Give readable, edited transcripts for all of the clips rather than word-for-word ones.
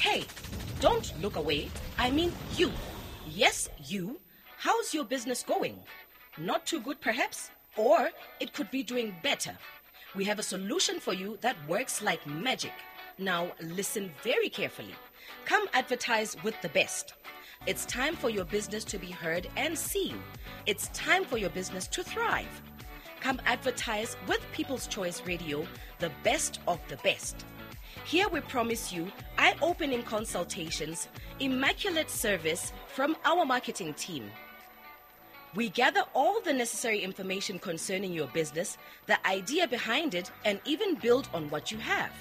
Hey, don't look away. I mean you. Yes, you. How's your business going? Not too good, perhaps? Or it could be doing better. We have a solution for you that works like magic. Now, listen very carefully. Come advertise with the best. It's time for your business to be heard and seen. It's time for your business to thrive. Come advertise with People's Choice Radio, the best of the best. Here we promise you eye opening consultations, immaculate service from our marketing team. We gather all the necessary information concerning your business, the idea behind it, and even build on what you have.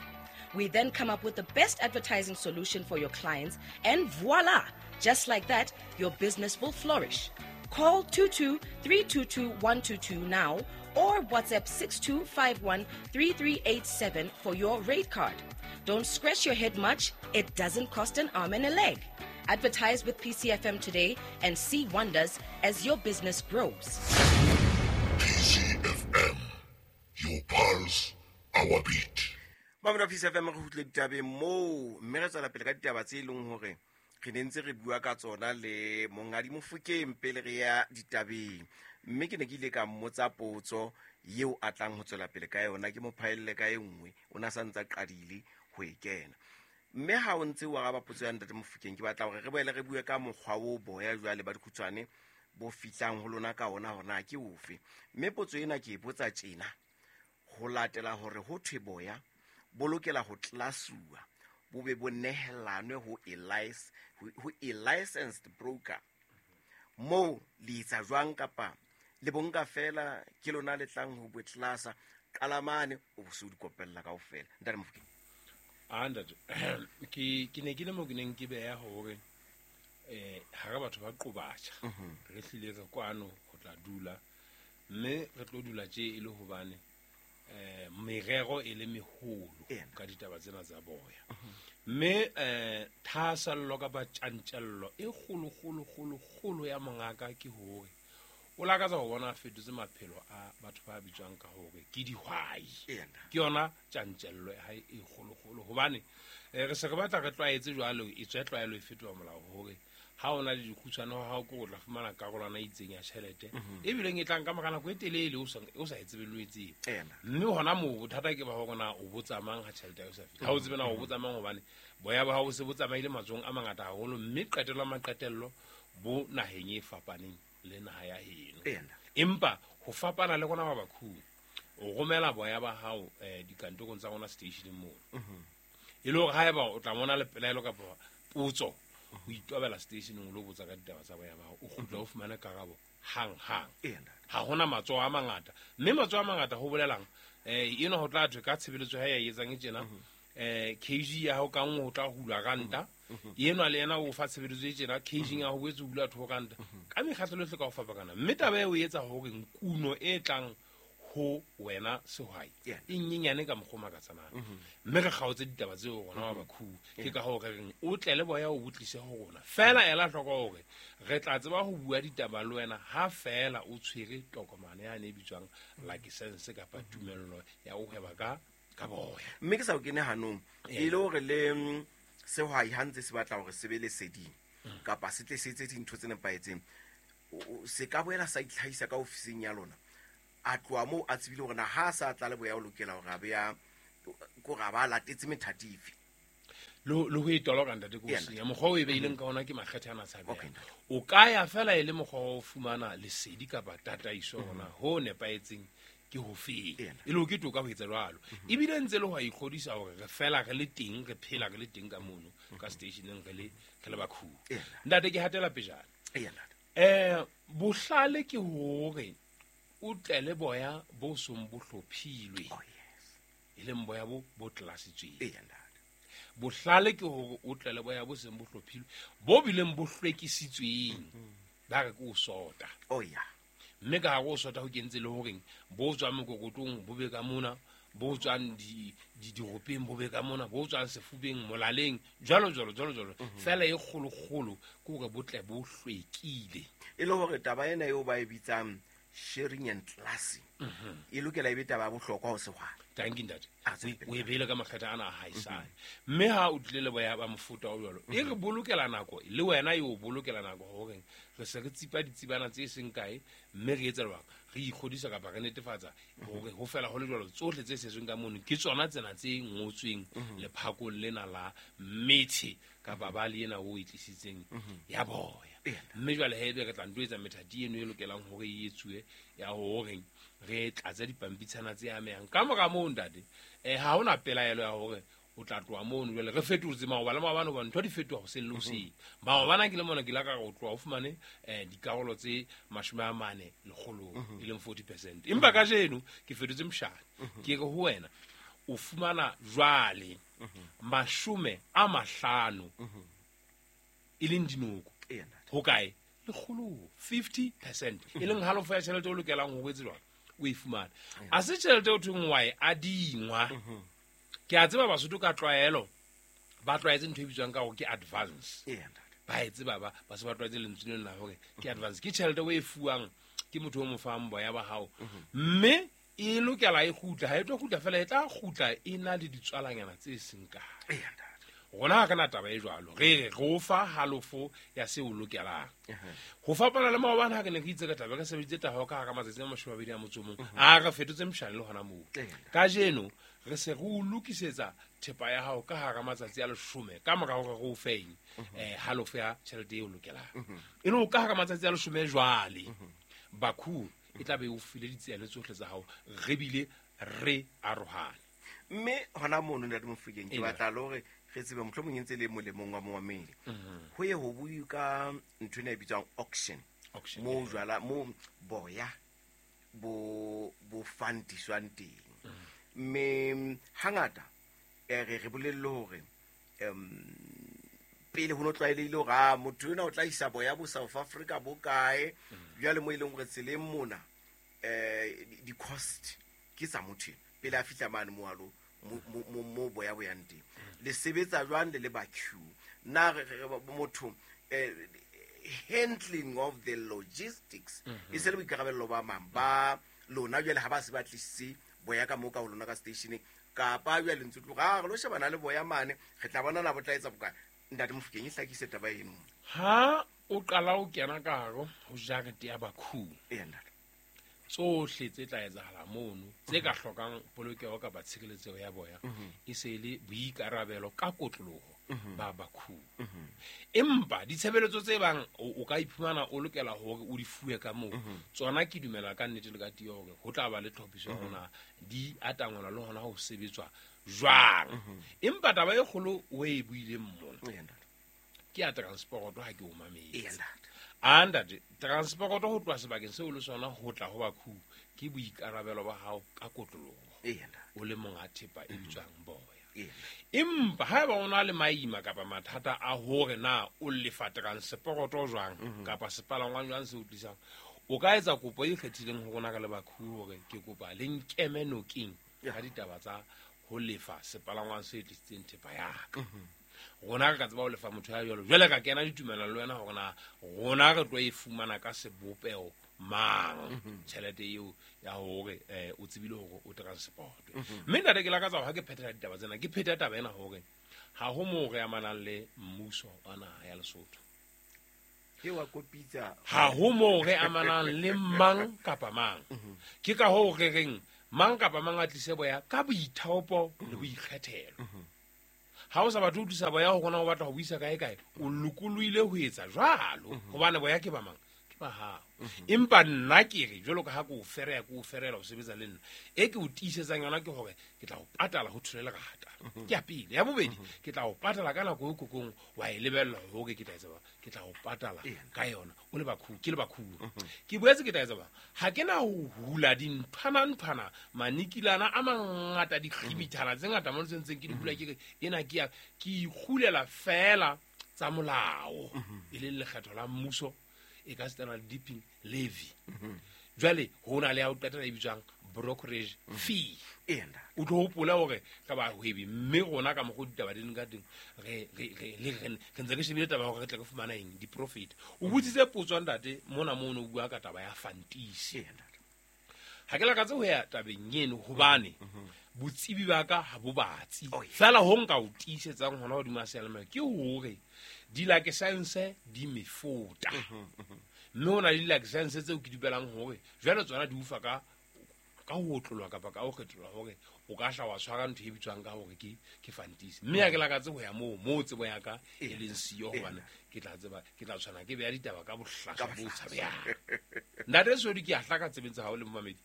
We then come up with the best advertising solution for your clients, and voila! Just like that, your business will flourish. Call 22 322 122 now or WhatsApp 6251 3387 for your rate card. Don't scratch your head much, it doesn't cost an arm and a leg. Advertise with PCFM today and see wonders as your business grows. PCFM, your pulse, our beat. Mamela Peace FM, re kgutle ditabeng moo, mme re tswela pele ka ditaba tse e leng hore re ne ntse re bua ka tsona le Monghadi Mofokeng pele re ya ditabeng. Mme ke ne ke ile ka mmotsa potso eo a tlang ho tswela pele ka yona, ke mo phaelle ka e nngwe, o na sa ntsa qadile ho e kena. Mme ha o ntse o araba potso ya Ntate Mofokeng, ke batla hore re boele re bue ka mokgwa o boya jwale ba dikhutshwane bo fihlang ho lona ka ona hore na ke ofe. Mme potso ena ke e botsa tjena ho latela hore ho thwe boya bo lokela ho tlasuwa, bo be bo nehelanwe ho a licensed broker. Moo le etsa jwang kapa le bonka fela ke lona le tlang ho bo tlasa qalamane o bo se o di kopella kaofela. Ntate Mofokeng. A ntate, ke ne ke le mo ke neng ke beha hore ha re batho ba qobatjha, re hlile re kwano ho tla dula, mme re tlo dula tje e le hobane merero e le meholo ka ditaba tsena tsa boya. Mme thahasello kapa tjantjello e kgolo, kgolo, kgolo, kgolo ya mongaka ke hore o lakatsa ho bona a fetotse maphelo a batho ba bitswang ka hore ke dihwai. Ke yona tjantjello ya hae e kgolo, kgolo, hobane re se re batla re tlwaetse jwalo, e tswe tlwaelo e fetoha molao hore ha o na le dikgutshwane ho hao ke o tla fumana karolwana e itseng ya tjhelete, e bileng e tlang ka mora nako e telele o sa e tsebe le o e tsebe. Mme hona moo bothata ke ba hore na o botsa mang ha tjhelete ya hao e sa fihle. Ha o tsebe na o botsa mang, hobane boya ba hao bo se bo tsamaile matsohong a mangata haholo, mme qetello ya maqetello bo naheng e fapaneng le naha ya heno. Empa ho fapana le rona ba bakhung, o romela boya ba hao dikantorong tsa rona stationeng moo. E le hore haeba o tla mona le pelaelo kapa potso, o itobela stationeng o lo botsa ka ditaba tsa boya ba hao, o kgutla o fumane karabo hang hang. Ha hona matsoho a mangata, mme matsoho a mangata ho bolelang, eno ho tla thwe ka tshebeletso ha ya e etsang e tjena, kg ya hao ka nngwe ho tla hulwa ranta, enwa le yena o fa tshebeletso e tjena, kg ya ho boetse ho hula 2 ranta. Ka mekgatlo yohle ka ho fapakana. Mme taba eo e etsa hore nkuno e tlang ho wena sehwai e nyenyane ka mokgwa o makatsanang. Mme re kgaotse ditaba tseo rona wa bakhubu. Ke ka hoo re reng o tle le boya o botlise ho rona. Feela ela hloko hore re tla tseba ho bua ditaba le wena ha feela o tshwere tokomane yane e bitswang license kapa tumello ya ho hweba ka boya. Mme ke sa o kene hanong, e le hore le sehwai ha ntse se batla hore se be leseding kapa se tle se etse dintho tse nepahetseng, se ka boela sa itlhahisa ka ofising ya lona, a tloha moo a tsebile hore na ha a sa tla le boya o lokela hore a be a, kore a ba a latetse methati efe. Le ho e toloka, ntate, ke o senya. Mokgwa o e beileng ka ona ke makgethe ana a tshabehang. Ntate. O ka ya fela e le mokgwa wa ho fumana lesedi kapa tataiso hore na ho nepahetseng ke ho feng. E le ho ke toka ho etsa jwalo. Ebile ntse le ho a ikgodisa hore re fela re le teng, re phela re le teng ka mono, ka stationeng re le bakhubu. Ntate, ke hatela pejana. Ntate. Bohlale ke hore o tle le boya bo song bo hlophilwe. Oh, yes. E leng boya bo bo tlasitsweng. Ntate. Bohlale ke hore o tle le boya bo seng bo hlophilwe, bo bileng bo hlwekisitsweng. Ba re ke o sota. Oh, yeah. Mme ka hare o sota ho kentse le horeng bo tswang mokokotlong bo be ka mona, bo tswang diropeng bo be ka mona, bo tswang sefubeng, molaleng, jwalo, jwalo, jwalo, jwalo. Feela e kgolo-kgolo ke hore bo tle bo hlwekile. E le hore taba ena eo ba e bitsang sharing and classing, e lokela e be taba ya bohlokwa ho sehwai. Tanki ntate. A tswele pele. O e beile ka makgetha ana a haesale. Mme ha o tlile le boya ba mofuta o jwalo, e re bolokela nako, le wena e o bolokela nako horeng re se re tsipa ditsibana tse seng kae, mme re etsa jwang? Re ikgodisa kapa re netefatsa hore ho fela ho le jwalo tsohle tse setsweng ka mono ke tsona tsena tse ngotsweng lephakong lena la methe kapa ba le ena o e tlisitseng ya boya. Mme jwale he ebe re tla nto etsa methati eno e lokelang hore e etsuwe ya hore re tlatse dipampitshana tse amehang. Ka mora moo ntate, ha hona pelaelo ya hore o tla tloha mono. Jwale re fetotse maoba le maobane hobane ntho di fetoha hoseng le hoseng. Maobane ke le mona ke la ka re o tloha o fumane dikarolo tse 40 lekgolong, e leng 40%. Empa kajeno ke fetotse moshane. Ke re ho wena o fumana jwale 50 e leng dinoko. Ho kae? Lekgolo, 50%. E leng halofo ya tjhelete o lokelang ho etse jwang? O e fumane. A se tjhelete o thweng wa e adingwa. Ke a tseba Basotho ka tlwaelo ba tlwaetse ntho e bitswang ka hore ke advance. Ba e tseba ba se ba tlwaetse lentswe lena la hore ke advance. Ke tjhelete o e fuwang ke motho o mo fang boya ba hao. Mme e lokela e kgutla, ha e tlo kgutla fela, e tla kgutla e na le ditswalanyana tse seng kae. Rona ha re na taba e jwalo, re re o fa halofo ya seo o lokelang. Ho fapana le maobane ha re ne re itse ka taba, re sebeditse taba ka hara matsatsi a 21, a re fetotse moshane le hona moo. Kajeno re se re o lokisetsa thepa ya hao ka hara matsatsi a 10 ka mora hore re o feng halofo ya tjhelete eo o lokelang. E le ka hara matsatsi a 10 jwale, Bakhu e tla be o file ditsela tsohle tsa hao, re bile re arohane. Mme hona mono ntate Mofokeng, ke batla le hore re tsebe mohlomong e ntse le molemong wa momamedi. Ho ye ho bue ka ntho ena e bitswang auction. Mo jwala mo boya bo fantiswang teng. Mme hangata re bolelle hore pele ho no tlwaelehile hore a motho ena o tla isa boya bo South Africa bo kae, jwale mo e leng hore tseleng mona di cost ke tsa motho pele a fihla mane mo alo mo boya bo yang teng. Le sebetsa jwang le ba Q? Na re motho handling of the logistics e se le boikarabello ba mang ba lona jwale ha ba se ba tlisitse boya ka mo ka ho lona ka stationeng, kapa jwale ntse tloga re lo shebana le boya mane re tla bona na bo tla etsa bokae? Ntate Mofokeng, e hlakise taba eno. Ha o qala o kena ka hare ho jarete ya Bakhu, tsohle tse tla etsahala mono tse ka hlokang polokeho kapa tshireletseho ya boya e se le boikarabelo ka kotloloho ba Bakhu. Empa ditshebeletso tse bang o ka iphumana o lokela hore o di fuwe ka moo, tsona ke dumela ka nnete le ka tiyo hore ho tla ba le tlhophiso ya hona di atangwana le hona ho sebetswa jwang. Empa taba e kgolo o e buileng mona ke ya transport, ha ke o mametse. Ntate, transport ho tloha sebakeng seo le sona ho tla ho Bakhu ke boikarabelo ba hao ka kotloloho, o le monga thepa e bitswang boya. Empa haeba o na le maima kapa mathata a hore na o lefa transport jwang kapa sepalangwang jwang se o tlisang, o ka etsa kopo e ikgethileng ho rona ka le Bakhu hore ke kopa le nkeme nokeng ka ditaba tsa ho lefa sepalangwang se tlisitseng thepa ya ka. Rona re ka tseba ho lefa motho ya jwalo, jwale ka kena ditumelano le wena hore na rona re tlo e fumana ka sebopeho mang tjhelete eo ya hore o tsebile hore o transport. Mme ntate ke lakatsa ha ke phethela ditaba tsena, ke phetha taba ena hore ha ho moo re amanang le mmuso wa naha ya Lesotho. Ke wa kopitsa. Ha ho moo re amanang le mang kapa mang. Ke ka hoo re reng mang kapa mang a tlise boya ka boithaopo le boikgethelo. Ha o sa batle ho tlisa boya ho rona o batla ho buisa kae kae, o lokolohile ho etsa jwalo, hobane boya ke ba mang? Ke ba hao. Empa nna ke re jwalo ka ha ke o fereya, ke o ferela ho sebetsa le nna, e ke o tiisetsang yona ke hore ke tla o patala ho thole lerata. Ke ya pele. Ya bobedi, ke tla o patala ka nako e kokong wa e lebella hore ke tla etsa ba, ke tla o patala ka yona o le Bakhu, ke le Bakhu. Ke boetse ke tla etsa ba, ha ke na ho hula dinthwana-nthwana, manikilana a mangata, dikgibithana tse ngata mo ntseng ke di hula, ke re ena ke ya ke ikgulela fela tsa molao, e leng lekgetho la mmuso e ka setsana le dipping levy. Jwale ho na le ya ho qetela e bitswang brokerage fee. O tlo hopola hore ka bahwebi, mme rona ka mokgwa ditaba di leng ka teng, re ntse re shebile taba hore re tle re fumana eng, di-profit. O botsitse potso ntate mona mono o bua ka taba ya fantisi. Ha ke lakatse ho ya tabeng eno hobane Botsebi ba ka ha bo batsi. Oh, yeah. Fela ho nka o tiisetsang hona hodima seyalemoya ke hore di-license di mefuta. Mme ho na le di-license tseo ke dupelang hore jwale tsona di ufa ka ho otlolwa kapa ka ho kgetholwa hore o ka hla wa tshwara ntho e bitswang ka hore ke fantisi. Mme ha ke lakatse ho ya moo tsebo ya ka e leng siyo, hobane ke tla tseba, ke tla tshwana ke beha ditaba ka bohlaswa bo tshabehang. Ntate Sodi, ke a hlaka tsebeng tsa hao le momamedi.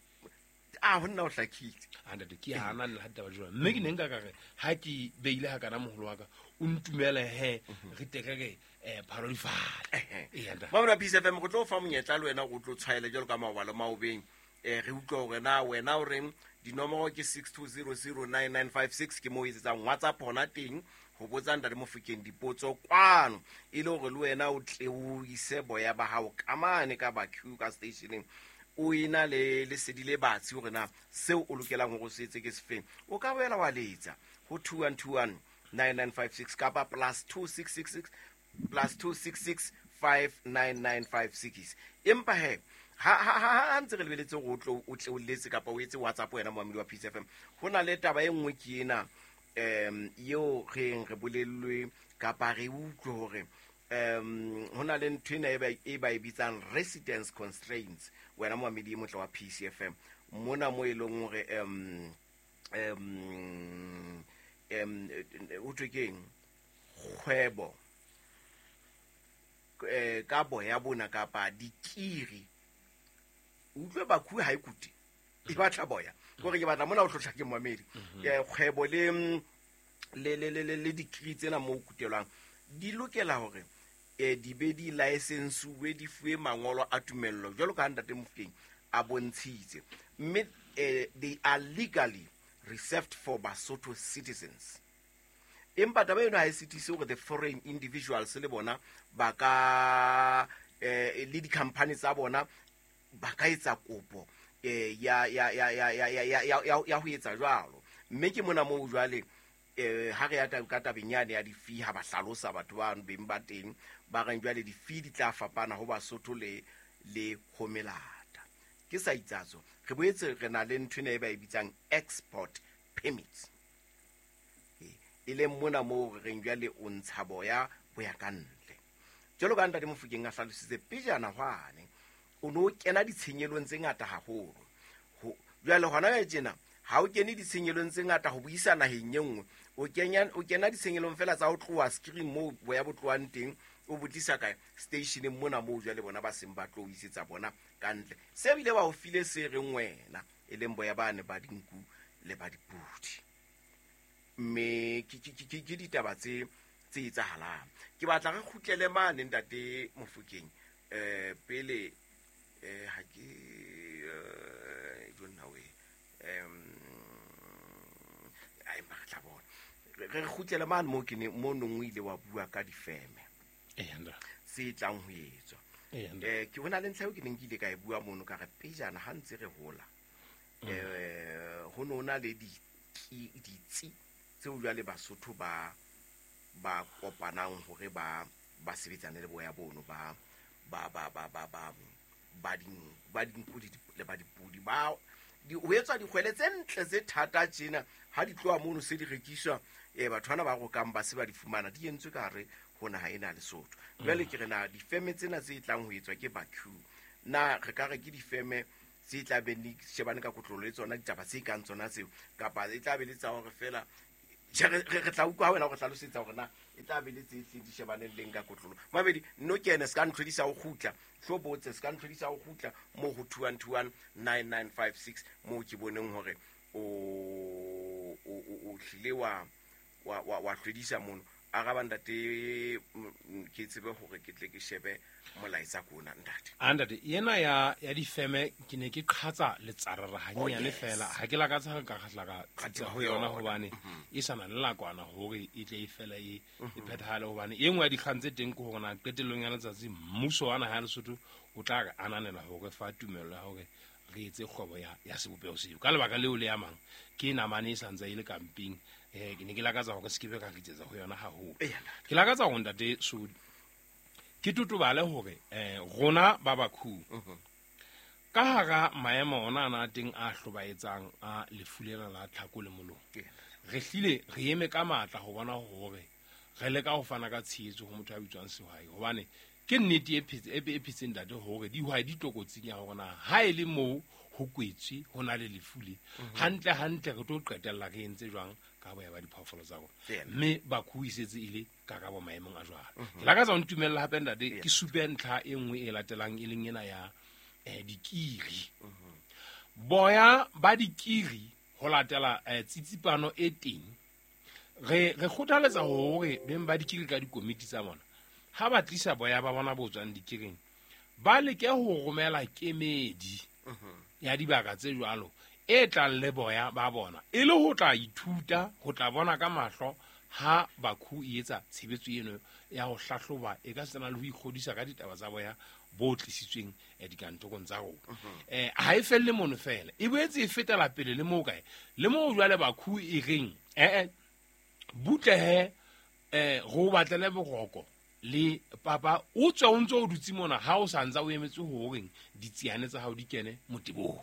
A ho nna o hlakile. A ntate, ke hana le ha ditaba di jwalo. Mme ke ne nka ka re ha ke beile ha kana moholo wa ka, o ntumele he, re tle re re, phalo di fale. Eya, ntate. Mamela Peace FM, re tlo fa monyetla le wena o tlo tshwaele jwalo ka maobale maobeng. Re utlwa hore na wena o reng, dinomoro ke 62009956, ke moo o etsetsang WhatsApp hona teng ho botsa Ntate Mofokeng dipotso kwano, e le hore le wena o tle o ise boya ba hao ka mane ka ba queue ka stationeng, o ena le lesedi le batsi hore na seo o lokelang hore o se etse ke sefeng. O ka boela wa letsa ho 21219956 kapa plus two six six six, plus two six six five nine nine five six. Empa he, ha ntse re lebeletse hore o tle o letse kapa o etse WhatsApp wena moamedi wa Peace FM, ho na le taba e nngwe ke ena, eo re eng re bolellwe kapa re utlwe hore, ho na le ntho ena e ba e bitsang residence constraints. Wena moamedi e motle wa Peace FM, mona mo e leng hore, ho thwe keng? Kgwebo, ka boya bona kapa dikiri. Utlwe bakhu ha e kute, e batla boya. Ke hore ke batla mona o tlotla ke moamedi. Kgwebo le dikiri tsena mo kutelwang di lokela hore, di be di license-uwe, di fuwe mangolo a tumello jwalo ka ha Ntate Mofokeng a bontshitse. Mme, they are legally reserved for Basotho citizens. Empa taba eno ha e sitise hore the foreign individuals le bona ba ka, le di-company tsa bona ba ka etsa kopo, ya ho etsa jwalo. Mme ke mona moo jwale, ha re ya ka tabeng yane ya di-fee, ha ba hlalosa batho ba beng ba teng, ba reng jwale di-fee di tla fapana ho Basotho le ho melata. Ke sa itsatso, re boetse re na le ntho ena e ba e bitsang export permits. E leng mona moo re reng jwale o ntsha boya bo ya ka ntle. Jwalo ka Ntate Mofokeng a hlalositse pejana hwane, o no kena ditshenyelong tse ngata haholo. Jwale hona jwale tjena, ha o kene ditshenyelong tse ngata ho buisa naheng e nngwe, o kena ditshenyelong fela tsa ho tloha screen moo boya bo tlohang teng, o bo tlisa kae? Stationeng mona moo jwale bona ba seng ba tlo o isetsa bona ka ntle. Se bile ba o file se reng wena, e leng boya bane ba dinku le ba dipudi. Mme ke ditaba tse etsahalang. Ke batla re kgutlele mane Ntate Mofokeng, pele, ha ke, don't know where, ai, empa re tla bona. Re kgutlele mane moo ke ne, mo nong o ile wa bua ka difeme. Eya, ntate. Tse tlang ho etswa. Eya, ntate. Ke hona le ntlha eo ke neng ke ile ka e bua mono, ka re pejana ha ntse re hola, ho no na le ditsi tseo jwale Basotho ba kopanang hore ba sebetsane le boya bono, ba dinku le ba dipudi. Ho etswa dikgwele tse ntle tse thata tjena, ha di tloha mono se di rekiswa, batho bana ba rokang ba se ba di fumana, di entswe ka hare ho naha ena ya Lesotho. Jwale ke re na difeme tsena tse tlang ho etswa ke Baku, na re ka re ke difeme tse tla beng di shebane ka kotlolo le tsona ditaba tse kang tsona tseo, kapa e tla be le tsa hore fela, tjhe, re tla utlwa ha wena o re hlalosetsa hore na e tla be le tse hlileng di shebaneng leng ka kotlolo. Mabedi, nno kene, se ka ntlhodisa ho kgutla. Hlo botse, se ka ntlhodisa ho kgutla moo ho 2129956, moo ke boneng hore o hlile wa hlwedisa mono. Araba ntate, ke tsebe hore ke tle ke shebe molaetsa ko ona, ntate. A ntate, ena ya difeme ke ne ke qhatsa letsarara hanyenyane Oh, yes. fela. Ha ke lakatsa ho ka kgahla ka Qhatsa tsitsa ho yona ho yona. hobane e sa na le nakwana hore e tle e fele e phethahale, hobane e nngwe ya dikgang tse teng ke hore na qetellong ya letsatsi mmuso wa naha ya Lesotho o tla re ananela hore fa tumello ya hore re etse kgwebo ya sebopeho seo. Ka lebaka leo le amang ke namane e sa ntse e le kamping, ke ne ke lakatsa hore se ke be ka ritsetsa ho yona haholo. Eya, ntate. Ke lakatsa hore ntate Sodi ke totobale hore, rona ba Baku Ka hara maemo ona ana a teng a hlobaetsang a lefu lena la tlhako le molomo, re hlile re eme ka matla ho bona hore re leka ho fana ka tshehetso ho motho a bitswang sehwai, hobane ke nnete e phetseng ntate hore dihwai di tlokotsing ya hore na ha e le moo ho kwetswe ho na le lefu le hantle hantle re tlo qetella re entse jwang ka boya ba diphoofolo tsa rona, mme bakhu e setse e le karabo maemong a jwalo. Ke lakatsa ho ntumella hape ntate ke supe ntlha e nngwe e latelang e leng ena ya dikiri. Boya ba dikiri ho latela tsitsipano e teng, re kgothaletsa hore beng ba dikiri ka dikomiti tsa bona ha ba tlisa boya ba bona bo tswang dikiring, ba leke ho romela kemedi ya dibaka tse jwalo e tlang le boya ba bona, e le ho tla ithuta, ho tla bona ka mahlo ha bakhu e etsa tshebetso eno ya ho hlahloba e ka sena le ho ikgodisa ka ditaba tsa boya bo tlisitsweng dikantorong tsa rona. Ha e felle mono fela, e boetse e fetela pele le moo kae le moo jwale bakhu e reng butlehe go batlele boroko le papa o tswe o ntse o dutse mona ha o sa ntsa o emetse horeng ditsiane tsa hao di kene motebong.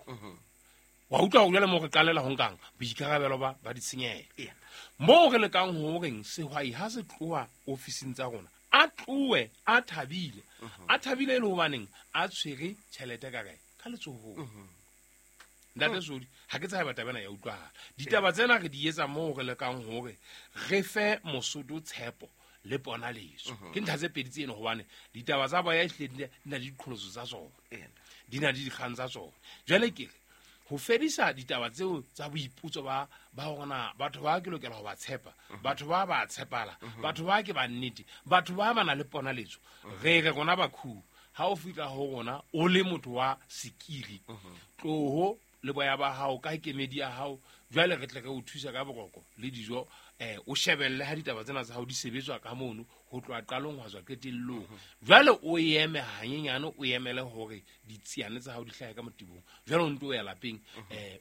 Wa utlwa hore jwale moo re qalela ho nkang boikarabelo ba ditshenyehelo. Moo re lekang horeng sehwai ha se tloha ofising tsa rona a tlohe a thabile, a thabile e le hobaneng a tshwere tjhelete ka kae ka letsohong. Ntate Sodi, ha ke tshabe taba ena ya utlwahala. Ditaba tsena re di etsa moo re lekang hore re fe Mosotho tshepo le ponaletso. Ke ntlha tse pedi tseno hobane ditaba tsa boya ehlile di na le diqholotso tsa tsona, di na le dikgang tsa tsona. Jwale ke re ho fedisa ditaba tseo tsa boiputso ba hore na batho ba ke lokela ho ba tshepa, batho ba ba tshepala, batho ba ke ba nnete, batho ba ba na le ponaletso. Re re rona bakhu ha o fihla ho rona o le motho wa sekiri, tloho le boya ba hao ka kemedi ya hao, jwale re tle re o thusa ka boroko le dijo, o shebelle ha ditaba tsena tsa hao di sebetswa ka mono ho tloha qalong ho tswa qetellong. Jwale o eme hanyenyane, o emele hore ditsiane tsa hao di hlahe ka motebong, jwale o nto o ya lapeng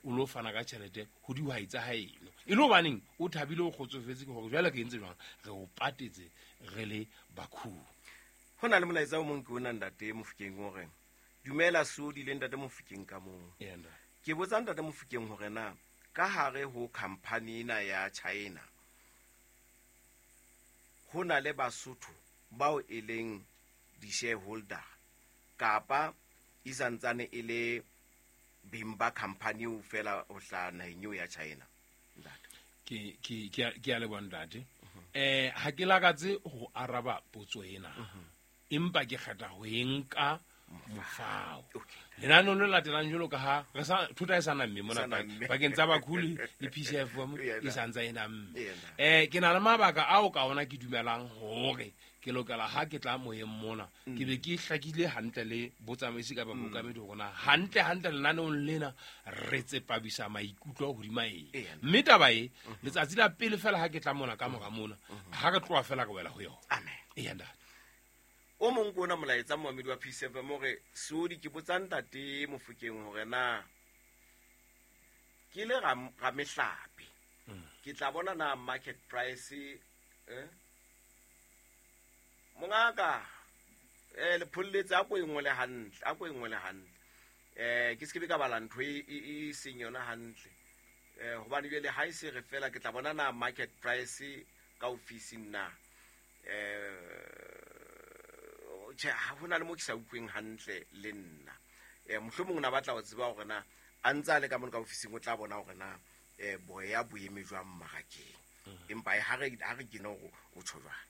o lo fana ka tjhelete ho dihwai tsa haeno, e le hobaneng o thabile o kgotsofetse ke hore jwale re entse jwang, re o patetse re le bakhu. Ho na le molaetsa o mong ke ona ntate Mofokeng o reng, dumela Sodi le ntate Mofokeng ka moo. Ke botsa ntate Mofokeng hore na ka hare ho company ena ya China ho na le Basotho bao e leng di-shareholder kapa e santsane e le beng ba company eo fela ho hlaha naheng eo ya China. Ntate. Ke a leboha ntate. Ha ke lakatse ho araba potso ena, empa ke kgetha ho e nka mofao. Lenaneo le latelang jwalo ka ha re sa thota e sa namme mona pakeng tsa bakhuli le PCF e sa ntsa e namme. Ke na le mabaka ao ka ona ke dumelang hore ke lokela ha ke tla moyeng mona ke be ke hlakile hantle le botsamaisi kapa bookamedi hore na hantle hantle lenaneong lena re tsepamisa maikutlo hodima eng. Mme taba e letsatsi la pele fela ha ke tla mona ka mora mona ha re tloha fela re wela ho yona. Amen. Eya ntate. O mong ke ona molaetsa moamedi wa PCF hore Sodi ke botsa ntate Mofokeng hore na ke le ra mehlape ke tla bona na market price mongaka le pholletse a ko e ngole hantle, a ko e ngole hantle, ke se ke be ka bala ntho e seng yona hantle, hobane jwale ha e se re fela ke tla bona na market price ka ofising na tjhe, ha hona le mo ke sa utlweng hantle le nna. Mohlomong na batla ho tseba hore na a ntse a le ka mono ka ofising o tla bona hore na boya bo eme jwang mmarakeng. Empa ha re kene hore o tjho jwang.